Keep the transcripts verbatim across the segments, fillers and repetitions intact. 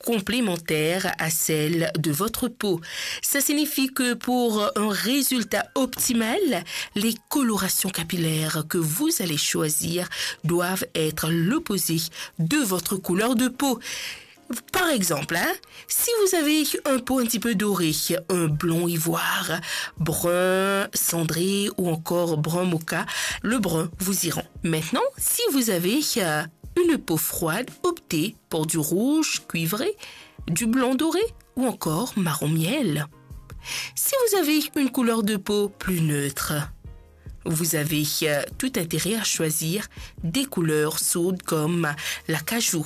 complémentaire à celle de votre peau. Ça signifie que pour un résultat optimal, les colorations capillaires que vous allez choisir doivent être l'opposé de votre couleur de peau. Par exemple, hein, si vous avez une peau un petit peu dorée, un blond ivoire, brun cendré ou encore brun mocha, le brun vous ira. Maintenant, si vous avez euh, une peau froide, optez pour du rouge cuivré, du blanc doré ou encore marron miel. Si vous avez une couleur de peau plus neutre, vous avez euh, tout intérêt à choisir des couleurs chaudes comme l'acajou.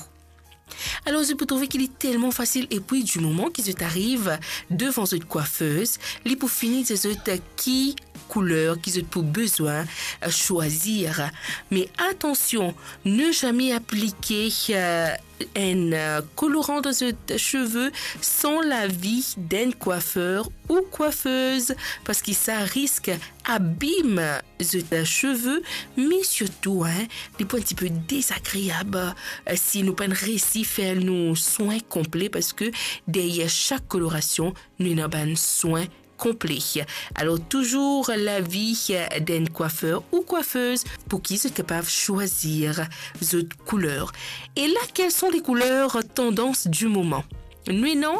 Alors, zot pou trouve ki li telman fasil, epi di moman ki zot ariv devan zot coiffeuse, li pou fini dir zot ki couleur ki zot pou bezwin euh, choisir. Mais attention, ne jamais appliquer euh, un euh, colorant dans zot cheveux sans l'avis d'un coiffeur ou coiffeuse, parce que ça risque abîme zot cheveux, mais surtout, hein, li pou un petit peu désagréable euh, si nou pa resi fer nou soin complet, parce que derrière chaque coloration, nou ena bann soin complet. Alors, toujours l'avis d'un coiffeur ou coiffeuse pour ki zot kapav choisir zot couleur. Et là, quelles sont les couleurs tendance du moment? Nou ena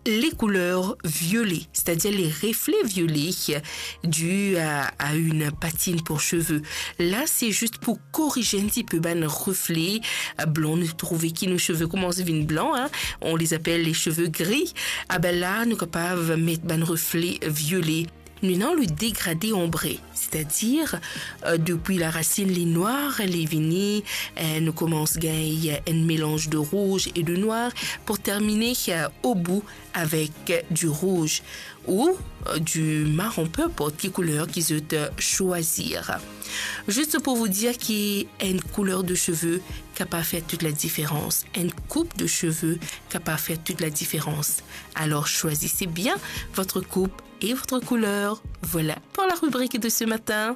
les couleurs violets, c'est-à-dire les reflets violets dus à, à une patine pour cheveux. Là, c'est juste pour corriger un petit peu bann reflets euh, blancs. Nou trouve ki nou cheveux koumans vinn blan, hein. On les appelle les cheveux gris. Ah ben là, nou kapav met bann reflets violets. Nou ena le dégradé ambré, c'est-à-dire euh, depuis la racine li nwar, li vini, euh, nou koumans gagn un mélange de rouge et de noir pour terminer euh, au bout avec du rouge ou euh, du marron, peu importe ki couleur ki zot euh, choisir. Juste pour vous dire qu'une couleur de cheveux capable faire toute la différence, une coupe de cheveux capable faire toute la différence. Alors choisissez bien votre coupe et votre couleur. Voilà pour la rubrique de ce matin.